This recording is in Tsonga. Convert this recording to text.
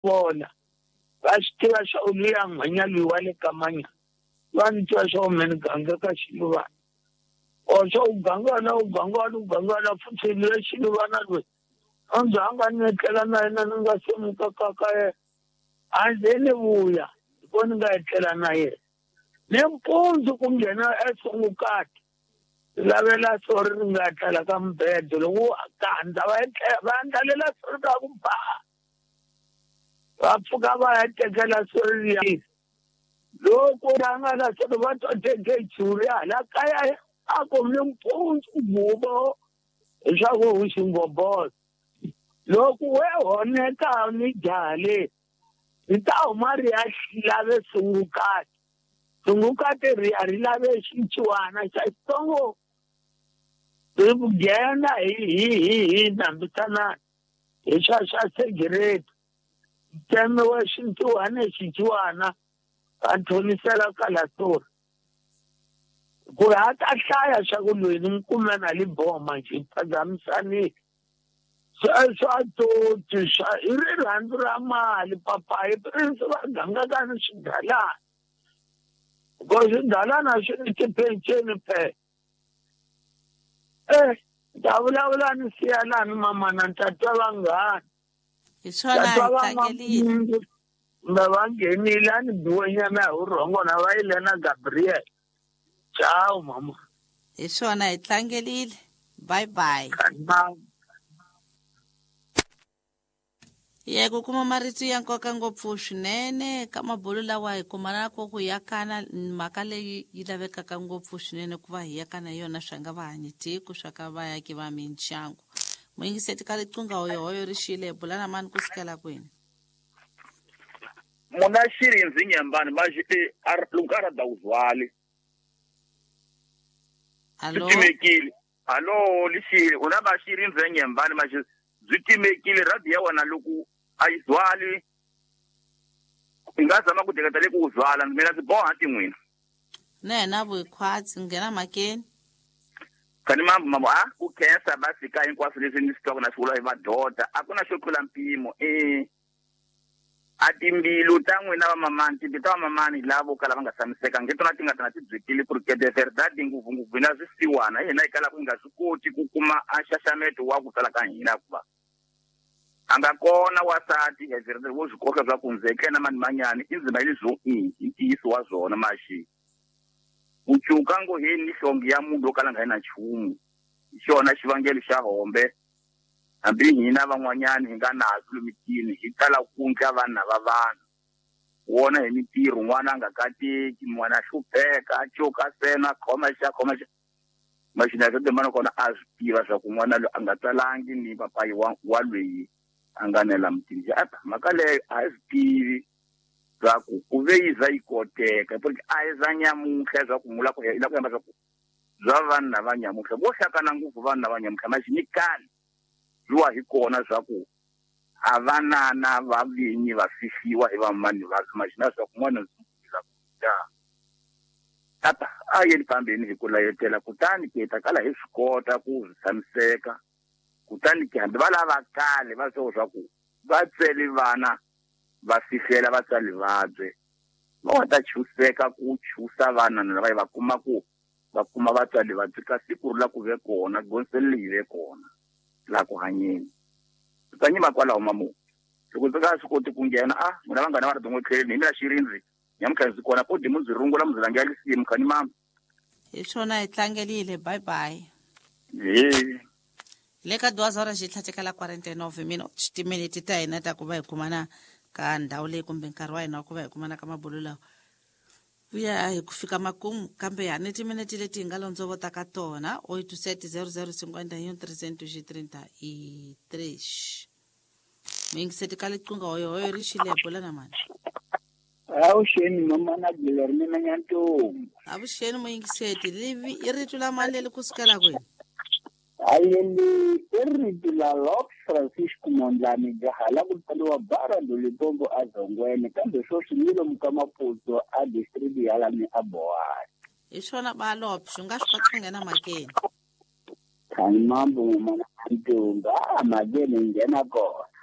Vona va swi tiva swa ku luya nhwenya loyi wa le ka manya va ni twa swa ku me ni ganga ka xiluvana or swa u ganga wena u ganga wena u ganga wena futhi luya xiluvana loyi a ndzi hanga ni etlela na yena ni nga se muka ka ka yena a ndzi ni vuya ko ni nga etlela na yena nimpundzu ku nghena esungukati lavela sori ri nga etlela ka mubedo loko kandza va etlela va andlalela sori ra ku ba va pfuka va ya tekela sori liya loko va nga na sori va twa teke churi hala kaya a ku nimpundzu gubo leswaku u xingobolo loko we honeka ni jaha le ri ta huma ri ya lave sungukati sungukati ri ya ri lave xinciwana xa xitsongo ri nghena hi hi hi hi nambisanana hi swa swa segireti tsemiwe xintuhane xinciwana va thonisela kalasori ku ri a ta hlaya swa ku loyi ni n'wi kume na liboma njhe phazamisanile sweswo a toti swa i rirhandzu ra mali papayi prince va gangaka ni swigalana ko swigalana swi ni tipenceni phela eh ta vulavula ni siyalani mamana ni ta twa vanghana hi swona hi tlangelile kumbe va nghenile a ni biwenyana hi vurhongo na va yile na Gabriel ciao mama hi swona hi tlangelile bye bye ye ku kuma marito ya nkoka ngopfu swinene ka mabulu lawa hi kumana ko ku yakana mhaka leyi yi lavekaka ngopfu swinene ku va hi yakana yona swa nga va hanyi tiko swa ka vayaki va mindyangu muyingiseti ka liqunga hoyohoyo ri xile bula na mani ku sukela kwini muna xirindzi nyambani maxi e loko a ra uzwali Hallo timekile hallo lixile u na va xirindzi nyambani maxi byi timekile radio ya wena loko a yi zwali i nga zama ku teketa le ku u zwala mina ndzi boha tin'wina na yena vukhwatsi nghena mhakeni kani mambo mambo a ku khensa va fika hinkwaswo leswi ni swi twaka na swi vula hi madoda a ku na xo tlula mpimo e a timbilu ta n'wina vamamani timbilu ta vamamani lavo kala va nga tshamiseka nge tona ti nga tona ti byekile ku ri ke de verdade ngopfungopfu hina swisiwana hina hi kalaka hi nga swi koti ku kuma a nxaxameto wa ku tala ka hina hikuva a nga kona wasati heverele wo swi koka swa ku ndzi etlena mani manyani i ndzima yeli i i ntiyiso wa zwona maxi ku cuka ngo heni ni hlonge ya munhu wo kala nga yi na nchumu hi xona xivangelo xa hombe hambi hina van'wanyani hi nga nazo lomitini hi tala ku ndla vanhu va vanhu wona hi mintirho n'wana a nga kateki n'wana a hlupheka a cuka sena khoma xa khoma xa maxina swa timana kona a swi tiva swa ku n'wana loyi a nga tsalangi ni papayi wa wa loyi a nga nela mutini xa apa mhaka leyo a hi swi tivi swa ku ku ve yi za yi koteka porque a hi za nyamuntlha swa ku mula ku la ku yamba swa ku bya vanhu lava nyamuntlha vo hlakana ngopfu vanhu lava nyamuntlha maxi ni kale byiwa hi kona swa ku a vanana va vinyi va fihliwa hi vamani va maxina swa ku n'wana ndzi tata a yeni phambeni hi ku layetela kutani ke ta kala hi swi kota ku swi tshamiseka kutani ke hambi va lava kale va swo swa ku va tsweli vana va fihlela vatswari vabye va nga ta chuseka ku chusa vana lava va kuma ku va kuma vatswari vabye ka siku ri la ku ve kona gonsele leyi ve kona laha ku hanyeni ta nyima kwalaho mamu loko ndzi nga swi koti ku nghena a n'wina vanghana va ri din'we tlheleni hi mina xirindzi nyamuntlha ndzi kona podi mu ndzi rungula mu ndzi langela lisimu khani mama hi swona hi tlangelile bye bye he le ka 2 horas xi tlhatekela 49 minutes timiniti ta hina ta ku va hi kumana ka ndhawu leyi kumbe nkarhi wa hina wa ku va hi kumana ka mabulu lawa vuya hi ku fika makumu kambe ha ni timiniti leti hi nga londzovota ka tona 87 00 51 333 muyingiseti ka liqunga hoyohoyo ri xile bula na mani avuxeni mamana Glory mina Nyantombi avuxeni muyingiseti livi i rito la mani leri kusukela kwini ayeli i rito la Lord Francisco Mondlane jaha la ku tsaliwa bara Limpopo a Zongweni kambe sweswi ni lomu ka Maputo a district ya lani a Bohani hi swona balopsho u nga swi kota ku nghena mhakeni khani mambo mamana Nyantombi a mhakeni hi nghena kona.